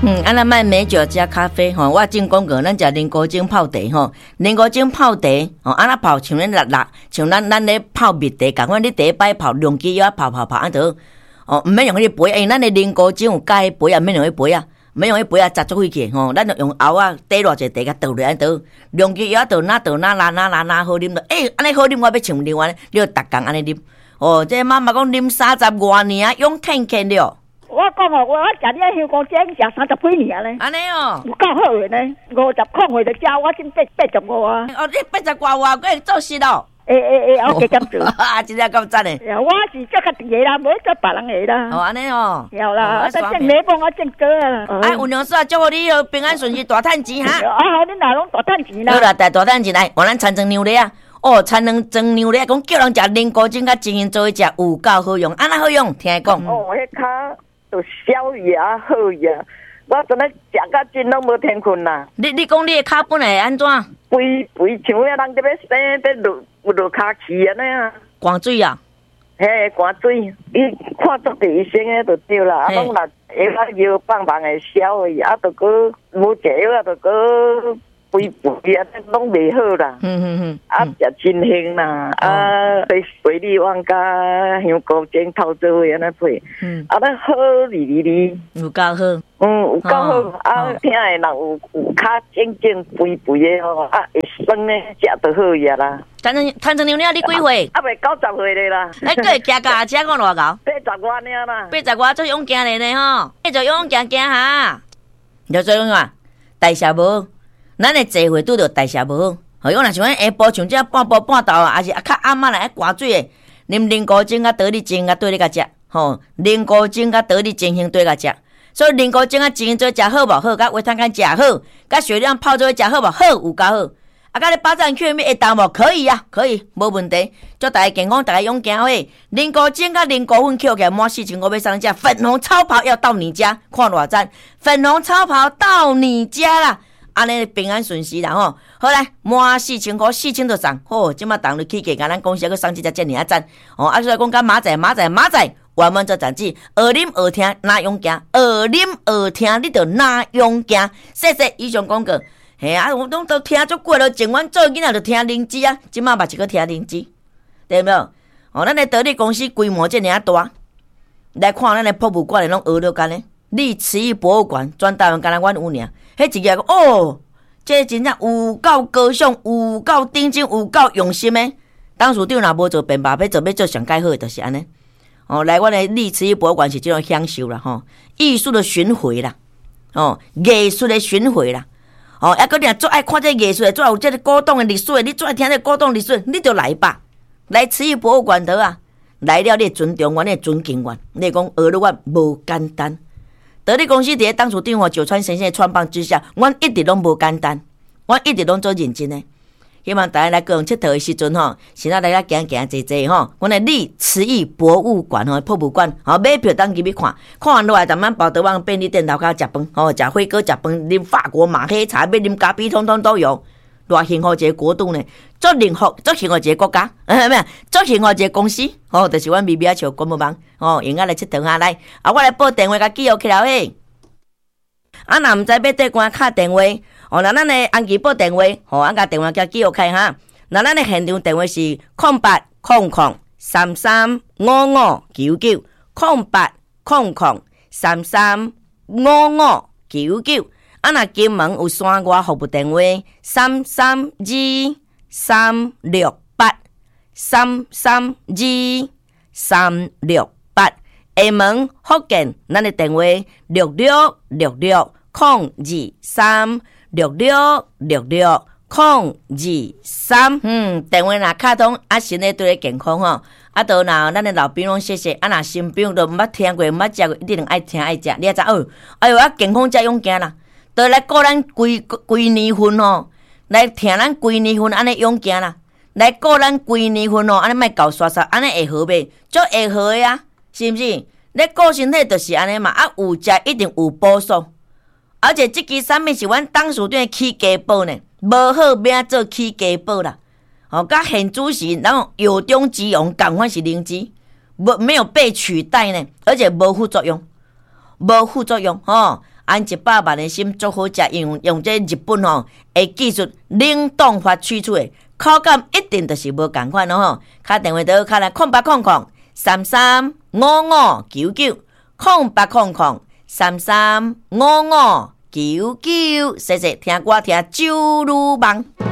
啊，咱莫美酒加咖啡吼，我正講過，咱食靈菇精泡茶吼，靈菇精泡茶吼，按怎泡像咱辣辣，像咱咧泡蜜茶仝款，你第一擺泡兩支藥泡泡泡按就好，哦，毋免用彼個杯，因為咱的靈菇精有加彼杯仔，毋免用彼杯仔，毋免用彼杯仔，雜足費去吼，咱就用甌仔底偌濟茶共倒落按就好，兩支藥倒哪倒哪拉哪拉哪好啉著，欸，按呢好啉，我欲像另外，你就逐工按呢啉，哦，這媽媽講啉三十外年啊，勇健健了。我講哦，我食你香菇精食三十幾年咧。按呢哦，有夠好的呢，50歲就食，我今85啊。哦，你八十外歲，閣會做事咯？會會會，我加減做。啊，真正夠讚的。我是做家己的啦，無做別人的啦。哦，按呢哦。對啦，我種美幫我種果啊。哎，有娘說祝福你平安順遂，大趁錢哈。啊好，恁若攏大趁錢啦。好啦，大大趁錢來，換咱田莊娘咧啊。哦，田莊娘咧，講叫人食靈菇精佮精英做伙食，有夠好用，按怎好用？聽伊講。哦，彼跤就消炎好呀，我陣咧食甲真攏無天睏啦。你講你的跤本來會按怎？肥肥像遐人佇欲生，欲落落跤氣按呢啊。寒水啊？嘿，寒水，你看足濟醫生的就對啦。啊，攏若藥仔藥放放會消去，啊，著閣無食藥啊，著閣肥肥啊，攏袂好啦。啊，食真興啦，啊，水蜜丸佮香菇精泡做伙按呢配。啊，咱好哩哩哩。有夠好。嗯，有夠好。啊，疼的人有跤腫腫肥肥的吼，啊，會酸的，食就好呀啦。田莊田莊娘娘，你幾歲？猶未90歲咧啦。欸，閣會騎腳踏車講偌𠢕？八十外爾啦。八十外足勇健的呢吼，繼續勇健行哈。你做勇啊？代謝無，咱的坐會拄著代謝無好。吼，我若像咱下晡像這半晡半晝啊，抑是較暗仔來愛寒水的，啉靈菇精佮桃李精佮對咧共食，吼，靈菇精佮桃李精興對共食。所以靈菇精佮精英做食好無好，佮維他乾食好，佮雪亮泡做伙食好無好，有夠好。啊，佮你巴掌 Q 會當無？可以啊，可以，無問題。祝大家健康，大家勇健好。靈菇精佮靈菇粉抾起來滿4500欲送你食，粉紅超跑要到你家，看偌讚！粉紅超跑到你家啦！按呢平安順遂啦吼。好來，滿4500，4000就送。好，這馬當日起價，共咱公司閣送這隻遮爾仔讚。哦，啊，所以講甲馬仔，馬仔，馬仔，我們做雜誌，學啉學聽哪勇健，學啉學聽你就哪勇健。謝謝以上廣告。嘿啊，我攏都聽足久了，從阮做囡仔就聽靈芝啊，這馬嘛是閣聽靈芝，對無？哦，咱的得力公司規模遮爾仔大，來看咱的博物館的攏學了干呢。麗瓷藝博物館全台灣敢若阮有爾，彼一個講哦，這真正有夠高尚，有夠頂真，有夠用心的。董事長若無做變罷，欲做欲做上蓋好的，就是按呢。哦，來阮的麗瓷藝博物館是這種享受啦，吼，藝術的巡迴啦，哦，藝術的巡迴啦。哦，抑閣你若足愛看這藝術的，足愛有這個古董的歷史的，你足愛聽這個古董歷史，你就來吧，來瓷藝博物館得啊。來了，你會尊重阮，你會尊敬阮，你會講學了阮無簡單。得力公司佇咧董事長九川先生的傳棒之下，阮一直攏無簡單，阮一直攏做認真的。希望大家來高雄𨑨迌的時陣吼，先仔來遐行行坐坐吼。阮的麗瓷藝博物館吼，博物館吼，買票當入去看，看完落來，慢慢跑到阮便利店樓跤食飯吼，食火鍋、食飯，啉法國馬黑茶，欲啉咖啡，通通都有。偌幸福一個國度呢，足幸福，足幸福一個國家，咩？足幸福一個公司，吼，就是阮微微仔笑官網吼，用仔來𨑨迌下來。啊，我來報電話共記錄起來嘿。啊，若毋知欲綴關敲電話，哦，那咱的安琪報電話，吼，按共電話共記錄開哈。那咱的現場電話是0800335599，0800335599。啊，若金門有山外服務電話，332368，332368。廈門福建，咱的電話6666023，6666023。嗯，電話若敲通，啊，身體對你健康吼。啊，都若咱的老朋友攏謝謝，啊，若新朋友都毋捌聽過，毋捌食過，一定愛聽愛食，你也知哦。哎喲，啊，健康才勇健啦。都來顧咱規規年份吼，來聽咱規年份按呢勇健啦，來顧咱規年份吼，按呢莫搞刷刷，按呢會好袂？足會好的啊，是毋是？你顧身體就是按呢嘛，啊，有食一定有補素，而且這支產品是阮董事長的起家寶呢，無好欲按怎做起家寶啦。吼，佮現主時，然後藥中之王仝款是靈芝，無沒有被取代呢，而且無副作用，無副作用吼。按100萬的參足好食，用這日本吼的技術冷凍法取出的，口感一定就是無仝款咯吼。敲電話到敲來0800335599，0800335599，謝謝聽歌聽周女夢。